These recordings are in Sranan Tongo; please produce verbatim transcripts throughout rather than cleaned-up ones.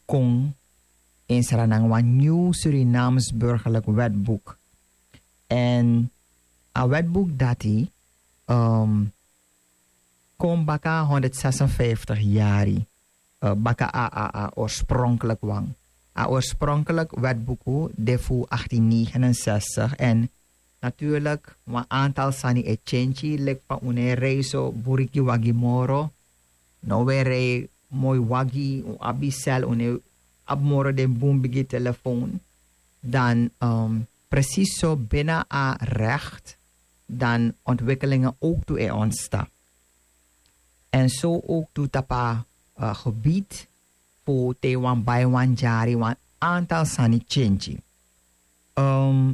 kon, en sra nanga wan nyun Surinaams burgerlik wetbuk. Èn a wetbuk dati kon baka honderdzesenvijftig yari baka a a a orspronklik wan. A orspronklik wetbuku de fu achttien negenenzestig, en natuurlik wan aantal sani e tyenty, leki fa un no e rei so buriki wagi moro. No un e rei moi wagi, un abi sel, un no e abi moro den bun bigi telefoon. Dan presis so bina a recht dan ontwikkelingen ook tu e ontstaan. En so ook tu tapa gebied fu te wan bai wan jari wan aantal sani tyenty.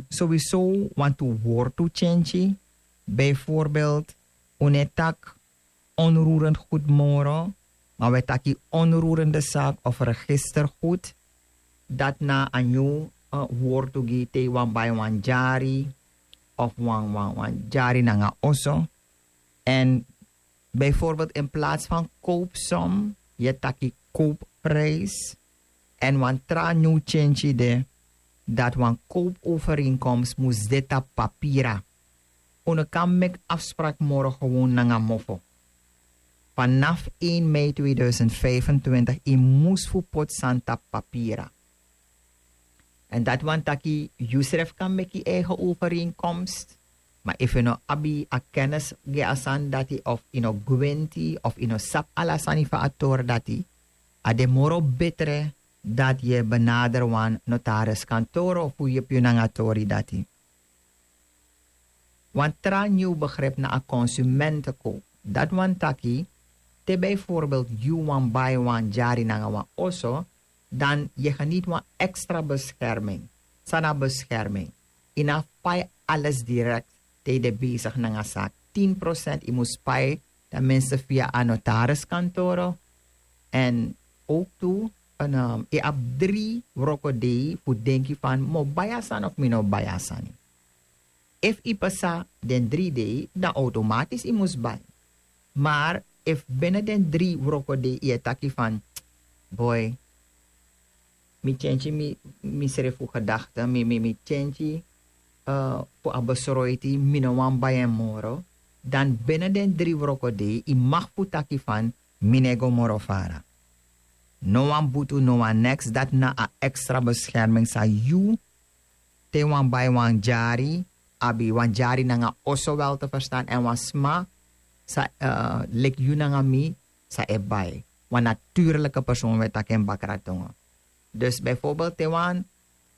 Sowieso wantu wortu tyenty. Bijvoorbeeld un no e taki onroerend goed moro, maar we taki onroerende zaak of registergoed. Dat na a nyun wortu gi te wan bai wan jari of wan wan wan jari nanga oso. En bijvoorbeeld in plaats van koopsom, ye taki koopprijs. En wan tra nyun tyenty de, dat wan koopovereenkomst mus de tapu papira. Un no kan meki afsprak moro gewoon nanga mofo. Vanaf één mei tweeduizend vijfentwintig i mus fu poti sani tapu papira. En dat wan taki yusref kan meki eigen overeenkomst. Maar efu no abi a kennis gi a sani dati of ino gwenti of ino sap ala sani fa a tori dati, a de moro betre dat ye benader wan notaris kantoro fu yepi yu nanga tori dati. Wan tra nyun begrip na a konsumentenkoop. Dat wan taki te bijvoorbeeld yu wan bai wan jari nanga wan oso, dan ye geniet wan extra bescherming. Sana bescherming. Ina pai alles direct te de bezig nanga sa tien procent i mus pai, dan minste via a notaris kantoro. En ook tu en um, i abi dri wroko dei fu denki fan mo bai a sani of mi no bai a sani. Efu i pasa den dri dei dan automatisch i mus bai. Maar efu bene den dri wroko dei i e taki fan boi, mi tyenty mi srefu gedakte mi mi mi tyenty fu a besroiti mi no wan bai en moro. Dan bene den dri wroko dei i mag fu taki fan mi no e go moro fara. No wan butu no wan neks dati na a extra bescherming san yu te wan bai wan jari abi wan jari nanga oso wel te verstan en wan sma sa leki yu nanga mi sa e bai wan natuurlike person we taki en bakratongo. Dus bijvoorbeeld te wan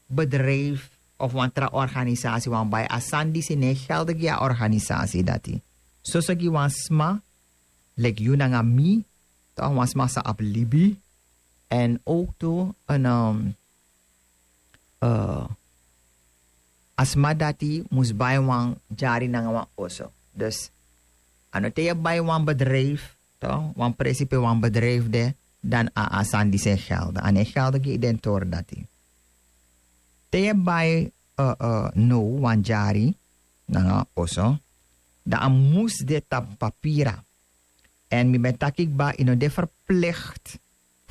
bedrijf of wan tra organisasi wan bai a sani disi no e gelde gi a organisasi dati. Soso gi wan sma leki yu nanga mi, toch wan sma sa abi libi. En ook tu en um, a sma dati mus bai wan jari nanga wan oso. Dus a no te ye bai wan bedrijf, toch wan presi pe wan bedrijf de, dan a a sani disi e gelde a no e gelde gi i den tori dati. Te ye bai no wan jari nanga oso, dan a mus de tapu papira. En mi ben taki kba i no de verplicht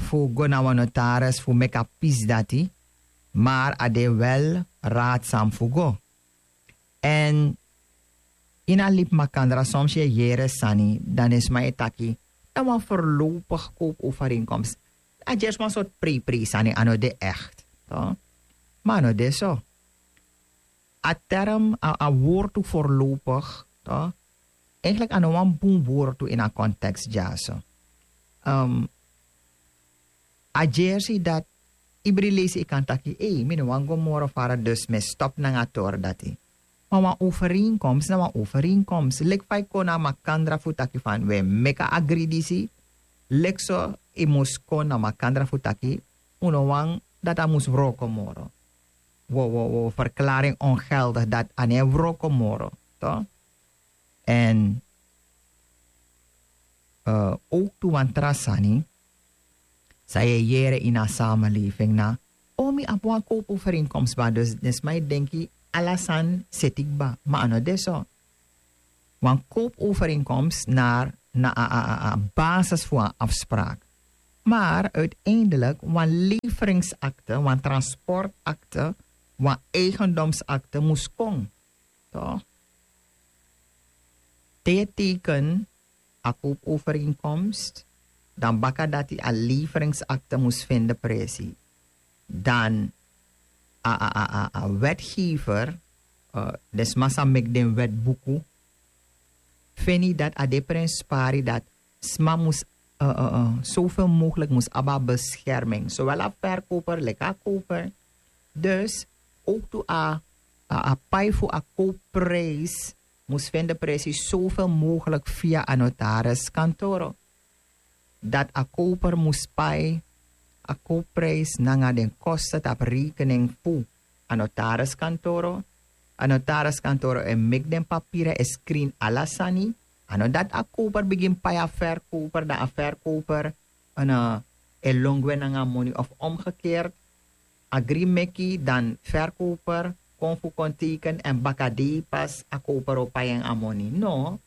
fu go na wan notaris fu meki a pisi dati. Maar a de wel raadsam fu go. En ini a libi makandra soms yu e yere sani dan den sma e taki na wan verlopig koopovereenkomst. A gersi wan sortu preiprei sani a no de echt. Ma a no de so. A term a wortu forlopig, eigenlijk a no wan bun wortu ini a konteks dyaso. A gersi dati ibri leisi i kan taki ei mi no wan go moro fara dus mi e stop nanga a tori dati. Ma wan overeenkomst na wan overeenkomst leki fa i kon na makandra fu taki fan we meki a agri disi. Leki so i mus kon na makandra fu taki un no wan dati a mus wroko moro. Wo wo wo verklaring ongeldig dati a no e wroko moro. To en ook tu wan tra sani san yu e yere ini a sameleving na o mi abi wan koopovereenkomst ba dus den sma e denki ala sani seti kba ma a no de so. Wan koopovereenkomst na na a basis fu wan afspraak. Maar uiteindelijk wan leveringsakte, wan transportakte, wan eigendomsakte mus kon. Toch? Te teken a koopovereenkomst, dan baka dati a leveringsakte mus vinden presi. Dan a, a, a, a, a wetgever, uh, de sma sa mek den wetbuku, feni dat a de prenspari dat sma mus uh, uh, uh, zoveel mogelijk mus aba bescherming. Zowel a verkoper, like a koper. Dus ook to a, a, a pai fu a koopprijs mus vinden precies zoveel mogelijk via a notaris kantoro. Dat a koper mus pai a koopprijs nanga den kosten op rekening fu a notaris kantoro. A notaris kantoro e mek den papira e screen ala sani. A no dat a koper begin pai a verkoper, dan a verkoper en uh, e longwe nanga moni of omgekeerd. Agri meki dan verkoper kon fu kon teken en bakadei pas a koper o pai en a moni. No,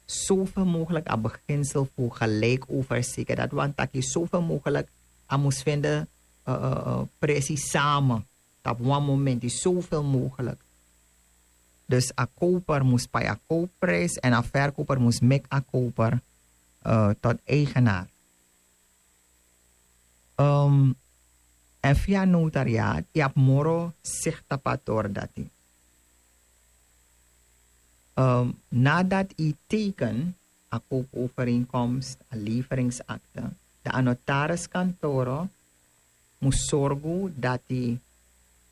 zoveel mogelijk a beginsel fu gelijk overzeker. Dat want taki zoveel mogelijk a mus vinden uh, uh, uh, precies samen. Op wan moment is zoveel mogelijk. Dus a koper mus pai a koopprijs en a verkoper mus mek a koper uh, tot eigenaar. Um, en via notariaat, y abi moro zicht op a tori dati. Um, nadat y teken a koopovereenkomst, a leveringsakte, dan a notariskantoro mus sorgu dati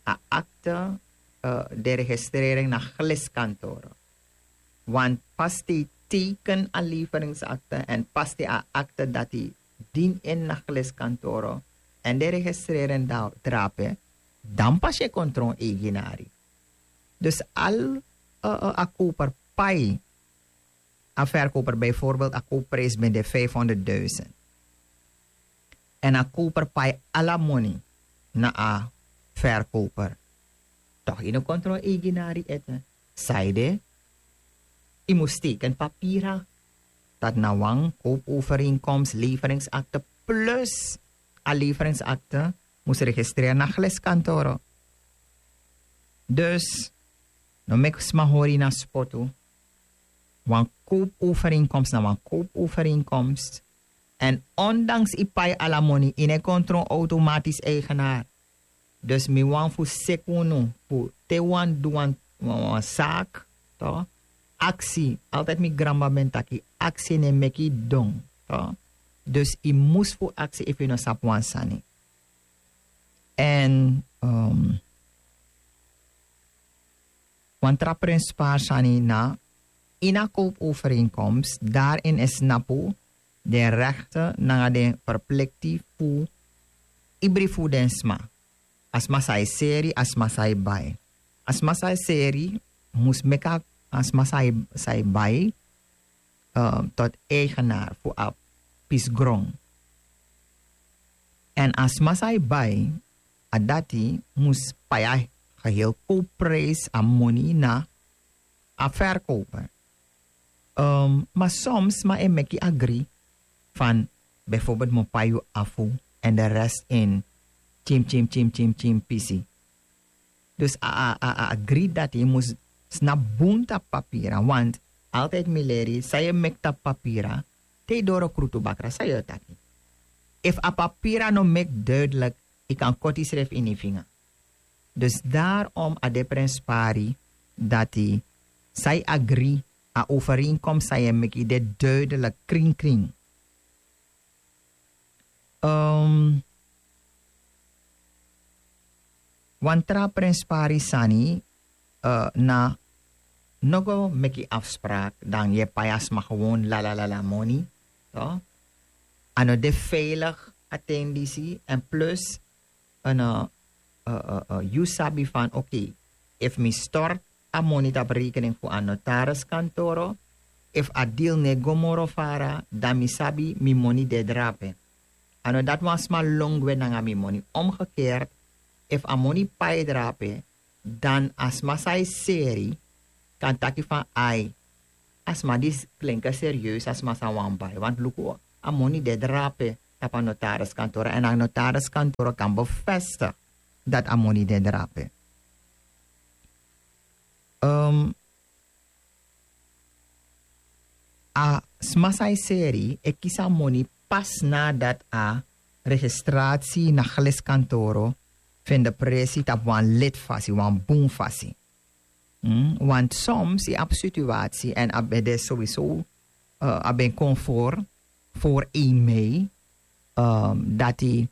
a akte uh, de registrering na gliskantoro. Want pas te teken a leveringsakte en pas te a akte dati din in na gliskantoro en de registrering drape, dan pas je kon tron eigenari. Dus al uh, uh, a koper pai a verkoper bijvoorbeeld a koopprijs ben de vijfhonderdduizend. En a koper pai ala moni na a verkoper. Toch in de controle eigenari ete. Saide, y mus teken papira. Dat na wan koopovereenkomst, leveringsakte plus a leveringsakte mus registreren na gliskantoro. Dus, no mek sma hori na spotu. Wan koopovereenkomst na wan koopovereenkomst. En ondanks y pai ala moni, y no e kon tron automatisch eigenaar. Dus mi wan fu seki unu fu te wan du wan, wan, wan zaak, toch? Aksi, altijd mi granma ben taki, aksi no e meki y don, toch? Dus y mus fu aksi efu y no sabi wan sani. En um, wan tra prenspari sani na ini a koopovereenkomst, daarin e snapu den rechten nanga den verplikti fu ibri fu den sma. A sma san e seri, a sma san e bai. A sma san e seri mus meki a sma san e bai uh, tot eigenaar fu a pisi gron. En a sma san e bai, a dati mus pai a geheel koopprijs, a moni na a verkoper. Um, maar soms sma e meki agri van bijvoorbeeld mi o pai yu afu en de rest in tyin tyin tyin tyin tyin pisi. Dus a, a, a, a agri dati mus snapu bun tapu papira, want altijd mi leri san yu e meki tapu papira, te yu doro krutu bakra san yu o taki. Efu a papira no meki duidelijk, yu kan koti yusrefi ini yu finga. Dus daarom a de prenspari dati san yu agri, a overeenkomst san yu e meki, de duidelijk, krinkring. Um, wan tra prenspari sani uh, na no go meki afspraak dan yu e pai a sma gewoon lalalala moni. A no de veilig a ten disi. En plus, yu sabi van oké, efu mi stort a moni tapu rekening fu a notariskantoro, efu a dil no e go moro fara, dan mi sabi mi moni de drape. A no dati wan sma lon gwe nanga mi moni. Omgekeerd, efu a moni pai drape, dan a sma san e seri kan taki van ai, a sma disi klinke serieus, a sma san wani bai, want luku, a moni de drape. tapu a notariskantoro èn a notariskantoro kan bevestig dati a moni de drape. A sma san e seri e kisi a moni pas nadat a registrasi na geliskantoro fende presi tapu wan leti fasi, wan bun fasi. Want soms yu abi situasi èn a ben de sowieso a ben kon for for een mei dati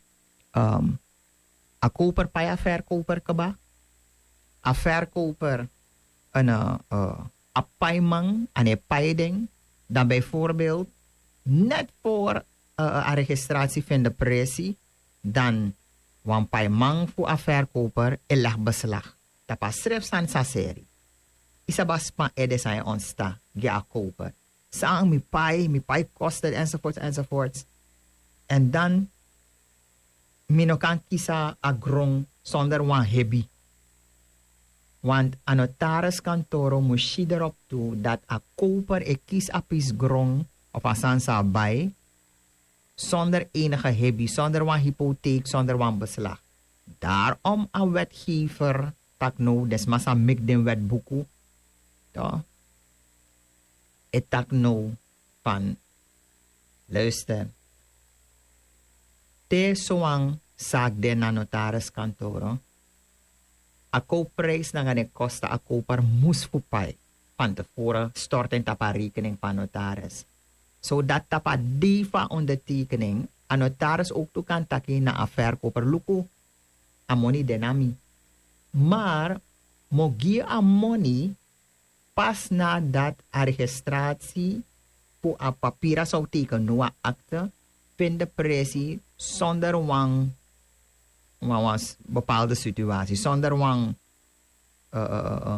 a koper pai a verkoper keba, a verkoper en a paiman an e pai den. Dan bijvoorbeeld net voor a registratie vinde presi dan wan paiman fu a verkoper e leg beslag tapu a srefsani saseri. Yu sabi a span ede san e ontsta gi a koper. San mi pai mi pai kosten enzovoorts enzovoorts. En dan mi no kan kisi a gron sonder wan hebi. Want a notariskantoro mus si derop tu dati a koper e kisi a pisi gron of a sani san a bai sonder enige hebi, sonder wan hypotheek, sonder wan beslag. Daarom a wetgever taki no den sma san meki den wetbuku e taki no van luister. Te sowan saki de na notariskantoro a kowprijs nanga den kosten a koper mus fu pai van te voren storten tapu a rekening van notaris. Zodat tapu a dei van ondertekening a notaris ook tu kan taki na a verkoper luku a moni de na mi. Maar mo gi a moni pas nadat a registratie fu a papira zou teken no a akte vinde presi sonder wan wan wan bepaalde situatie sonder wan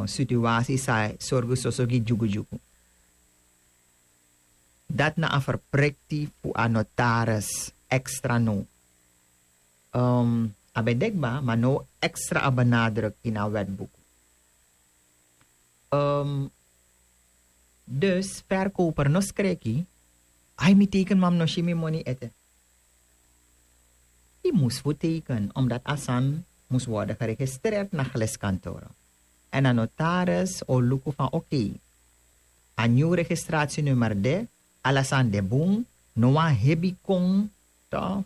situatie sai sorgu soso gi dyugu dyugu. Dati na a verprekti fu a notaris extra no. A ben dekba maar no extra a benadruk in a wetboek. Dus verkoper no skreki. Ai mi teken mam no si mi moni ete. Yu mus fu teken omdat a san mus worden geregistreerd na geliskantoro. En a notaris o luku van oké, a nyun registratienummer de, ala san de bun. No wan hebi kon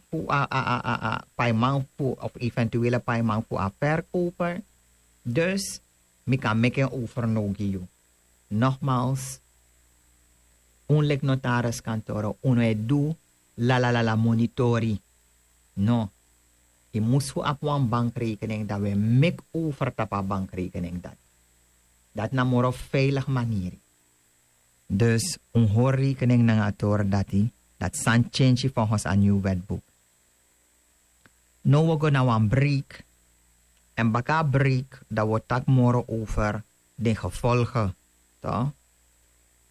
fu a paiman fu of eventuele paiman fu a verkoper. Dus mi kan meki en overno gi yu. Nogmaals, un leki notariskantoro un no e du lalalala monitori. No. Yu mus fu abi wan bankrekening dan wi e meki over tapu a bankrekening dati. Dati na moro veilig maniri. Dus un hori rekening nanga a tori dati dati sani tyentyi volgens a nyun wetboek. Now wi go na wan break. Èn baka a break dan wi o taki moro over den gevolgen.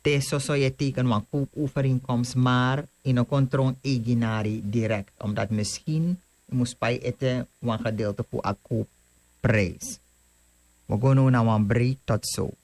Te soso yu e teken wan kowpovereenkomst maar yu no kon tron eigenari direkt omdat misschien yu mus pai ete wan gedeelte fu a kowpprijs. Wi go now na wan break tot so.